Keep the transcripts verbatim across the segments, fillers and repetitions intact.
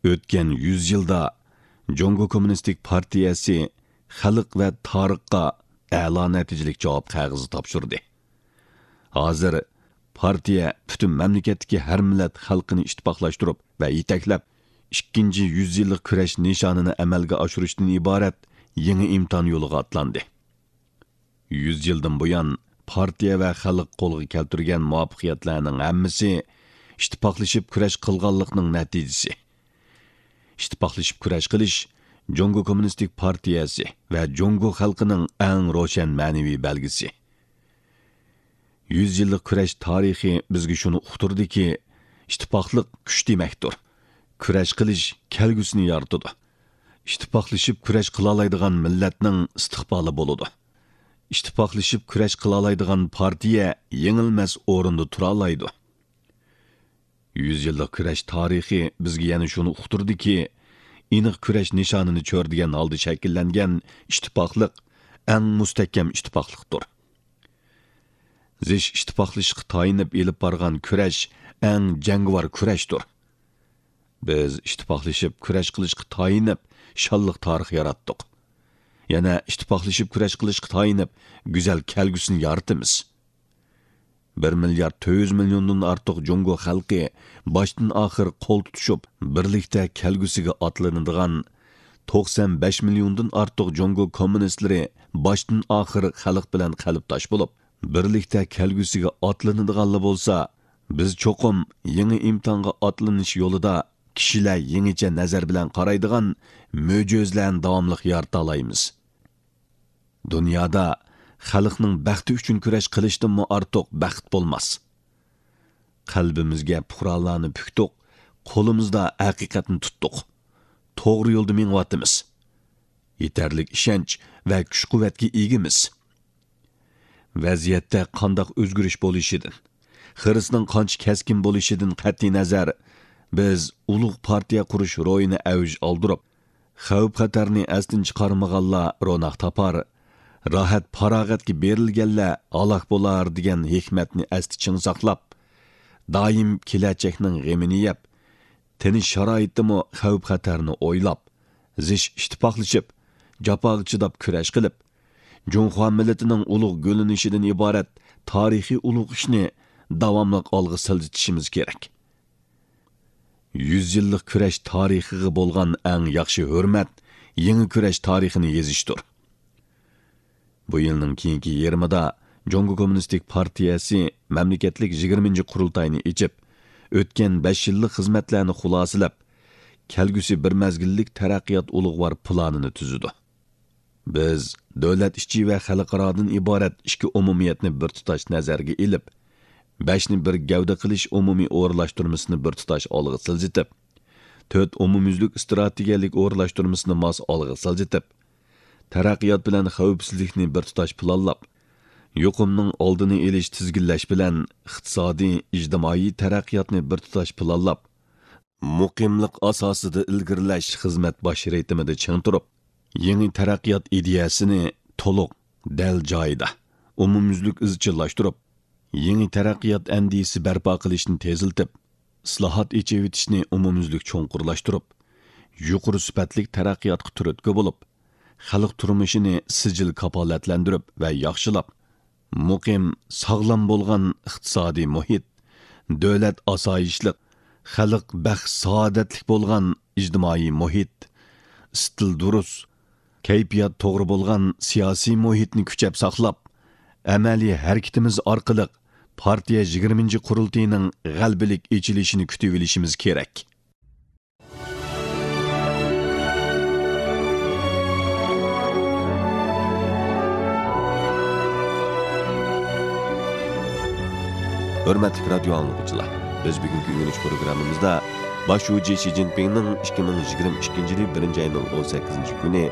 ئۆتكەن يۈز يىلدا جۇڭگو كوممۇنىستىك پارتىيەسى خەلق ۋە تارىخقا ئەلا نەتىجىلىك جاۋاب قەغىزى تاپشۇردى. ھازىر پارتىيە پۈتۈن مەملىكەتتىكى ھەر مىللەت خەلقىنى ئىتتىپاقلاشتۇرۇپ ۋە يېتەكلەپ، ئىككىنچى يۈز يىللىق كۈرەش نىشانىنى ئەمەلگە ئاشۇرۇشتىن ئىبارەت يېڭى ئىمتىھان يولىغا ئاتلاندى. يۈز يىلدىن بۇيان، پارتىيە ۋە خەلق قولغا كەلتۈرگەن مۇۋەپپەقىيەتلەرنىڭ ھەممىسى ئىتتىپاقلىشىپ كۈرەش قىلغانلىقنىڭ نەتىجىسى. ئىتتىپاقلىشىپ كۈرەش قىلىش جۇڭگو كوممۇنىستىك پارتىيەسى ۋە جۇڭگو خەلقىنىڭ ئەڭ روشەن مەنىۋى بەلگىسى. يۈز يىللىق كۈرەش تارىخى بىزگە شۇنى ئۇقتۇردىكى، ئىتتىپاقلىق كۈچ دېمەكتۇر. كۈرەش قىلىش كەلگۈسىنى يارىتىدۇ. ئىتتىپاقلىشىپ كۈرەش قىلالايدىغان مىللەتنىڭ ئىستىقبالى بولىدۇ. ئىتتىپاقلىشىپ كۈرەش قىلالايدىغان پارتىيە يېڭىلمەس ئورۇندا تۇرالايدۇ. يۈز يىللىق كۈرەش تارىخى بىزگە يەنە شۇنى ئۇقتۇردىكى، ئېنىق كۈرەش نىشانىنى چۆرىدىگەن ھالدا شەكىللەنگەن ئىتتىپاقلىق ئەڭ مۇستەھكەم ئىتتىپاقلىقتۇر. زىچ ئىتتىپاقلىشىشقا تايىنىپ ئېلىپ بارغان كۈرەش ئەڭ جەڭگىۋار كۈرەشتۇر. بىز ئىتتىپاقلىشىپ كۈرەش قىلىشقا تايىنىپ شانلىق تارىخ ياراتتۇق. يەنە ئىتتىپاقلىشىپ كۈرەش قىلىشقا تايىنىپ گۈزەل كەلگۈسىنى يارىتىمىز. بىر مىليارد تۆت يۈز مىليوندىن ئارتۇق جۇڭگو خەلقى باشتىن ئاخىر قول تۇتۇشۇپ، بىرلىكتە كەلگۈسىگە ئاتلىنىدىغان، توقسان بەش مىليوندىن ئارتۇق جۇڭگو كوممۇنىستلىرى باشتىن ئاخىر خەلق بىلەن قەلبداش بولۇپ، بىرلىكتە كەلگۈسىگە ئاتلىنىدىغانلا بولسا، بىز چوقۇم يېڭى ئىمتىھانغا ئاتلىنىش يولىدا كىشىلەر يېڭىچە نەزەر بىلەن قارايدىغان مۆجىزىلەرنى داۋاملىق يارىتالايمىز. دۇنيادا خەلقنىڭ بەختى ئۈچۈن كۈرەش قىلىشتىنمۇ ئارتۇق بەخت بولماس. قەلبىمىزگە پۇقرالارنى پۈكتۇق، قولىمىزدا ھەقىقەتنى تۇتتۇق. توغرا يولدا مېڭىۋاتىمىز. يېتەرلىك ئىشەنچ ۋە كۈچ-قۇۋۋەتكە ئىگىمىز. ۋەزىيەتتە قانداق ئۆزگىرىش بولۇشىدىن، خىرىسنىڭ قانچە كەسكىن بولۇشىدىن قەتئىينەزەر، بىز ئۇلۇغ پارتىيە قۇرۇش روھىنى ئەۋج ئالدۇرۇپ، خەۋپ-خەتەرنى ئەستىن چىقارمىغانلار روناق تاپار، راھەت-پاراغەتكە بېرىلگەنلەر ھالاك بولار دېگەن ھېكمەتنى ئەستە چىڭ ساقلاپ، دائىم كېلەچەكنىڭ غېمىنى يەپ، تىنچ شارائىتتىمۇ خەۋپ-خەتەرنى ئويلاپ، زىچ ئىتتىپاقلىشىپ، جاپاغا چىداپ كۈرەش قىلىپ، جۇڭخۇا مىللىتىنىڭ ئۇلۇغ گۈللىنىشىدىن ئىبارەت تارىخىي ئۇلۇغ ئىشنى داۋاملىق ئالغا سىلجىتىشىمىز كېرەك. يۈز يىللىق كۈرەش تارىخىغا بولغان ئەڭ ياخشى ھۆرمەت يېڭى كۈرەش تارىخىنى يېزىشتۇر. بۇ يىلنىڭ كېيىنكى يېرىمىدا جۇڭگو كوممۇنىستىك پارتىيەسى مەملىكەتلىك يىگىرمىنچى قۇرۇلتاينى ئېچىپ، ئۆتكەن بەش يىللىق خىزمەتلەرنى خۇلاسىلەپ، كەلگۈسى بىر مەزگىللىك تەرەققىيات ئۇلۇغۋار پىلانىنى تۈزىدۇ. بىز دۆلەت ئىچى ۋە خەلقئارادىن ئىبارەت ئىككى ئومۇمىيەتنى بىر تۇتاش نەزەرگە ئېلىپ، بەشنى بىر گەۋدە قىلىش ئومۇمىي ئورۇنلاشتۇرمىسىنى بىر تۇتاش ئالغا سىلجىتىپ، تۆت ئومۇميۈزلۈك ئىستراتېگىيەلىك ئورۇنلاشتۇرمىسىنى ماس ئالغا سىلجىتىپ، تەرەققىيات بىلەن خەۋپسىزلىكنى بىر تۇتاش پىلانلاپ، يۇقۇمنىڭ ئالدىنى ئېلىش، تىزگىنلەش بىلەن ئىقتىسادىي، ئىجتىمائىي تەرەققىياتنى بىر تۇتاش پىلانلاپ، مۇقىملىق ئاساسىدا ئىلگىرىلەش خىزمەت باش رىتىمىدا چىڭ تۇرۇپ، يېڭى تەرەققىيات ئىدىيەسىنى تولۇق، دەل جايىدا، ئومۇميۈزلۈك ئىزچىللاشتۇرۇپ، يېڭى تەرەققىيات ئەندىزىسى بەرپا قىلىشنى تېزلىتىپ، ئىسلاھات، ئېچىۋېتىشنى ئومۇميۈزلۈك چوڭقۇرلاشتۇرۇپ، يۇقىرى سۈپەتلىك تەرەققىياتقا تۈرتكە بولۇپ، خەلق تۇرمۇشىنى سىجىل كاپالەتلەندۈرۈپ ۋە ياخشىلاپ، مۇقىم، ساغلام بولغان ئىقتىسادىي مۇھىت، دۆلەت ئاسايىشلىق، خەلق بەخت-سائادەتلىك بولغان ئىجتىمائىي مۇھىت، ئىستىل دۇرۇس، كەيپىيات توغرا بولغان سىياسىي مۇھىتنى كۈچەپ ساقلاپ، ئەمەلىي ھەرىكىتىمىز ئارقىلىق پارتىيە يىگىرمىنچى قۇرۇلتىيىنىڭ غەلىبىلىك ئېچىلىشىنى كۈتۈۋېلىشىمىز كېرەك. ھۆرمەتلىك رادىيو ئاڭلىغۇچىلار، بىز بۈگۈنكى ئۆگىنىش پروگراممىمىزدا باش شۇجى شى جىنپىڭنىڭ ئىككى مىڭ يىگىرمە ئىككىنچى يىلى بىرىنچى ئاينىڭ ئون سەككىزىنچى كۈنى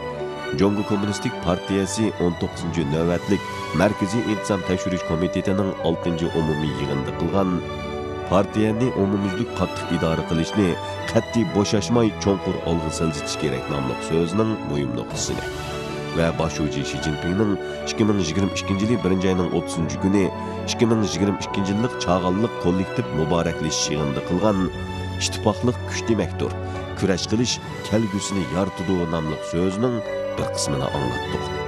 جۇڭگو كوممۇنىستىك پارتىيەسى ئون توققۇزىنچى نۆۋەتلىك مەركىزىي ئىنتىزام تەكشۈرۈش كومىتېتىنىڭ ئالتىنچى ئومۇمىي يىغىنىدا قىلغان پارتىيەنى ئومۇميۈزلۈك قاتتىق ئىدارە قىلىشنى قەتئىي بوشاشماي چوڭقۇر ئالغا سىلجىتىش كېرەك ناملىق سۆزىنىڭ مۇھىم نۇقتىسىنى ۋە باش شۇجى شى جىنپىڭنىڭ ئىككى مىڭ يىگىرمە ئىككىنچى يىلى بىرىنچى ئاينىڭ ئوتتۇزىنچى كۈنى ئىككى مىڭ يىگىرمە ئىككىنچى يىللىق چاغانلىق كوللېكتىپ مۇبارەكلىشىش يىغىنىدا قىلغان، ئىتتىپاقلىق كۈچ دېمەكتۇر، كۈرەش قىلىش كەلگۈسىنى يارىتىدۇ ناملىق سۆزىنىڭ بىر قىسمىنى ئاڭلاتتۇق.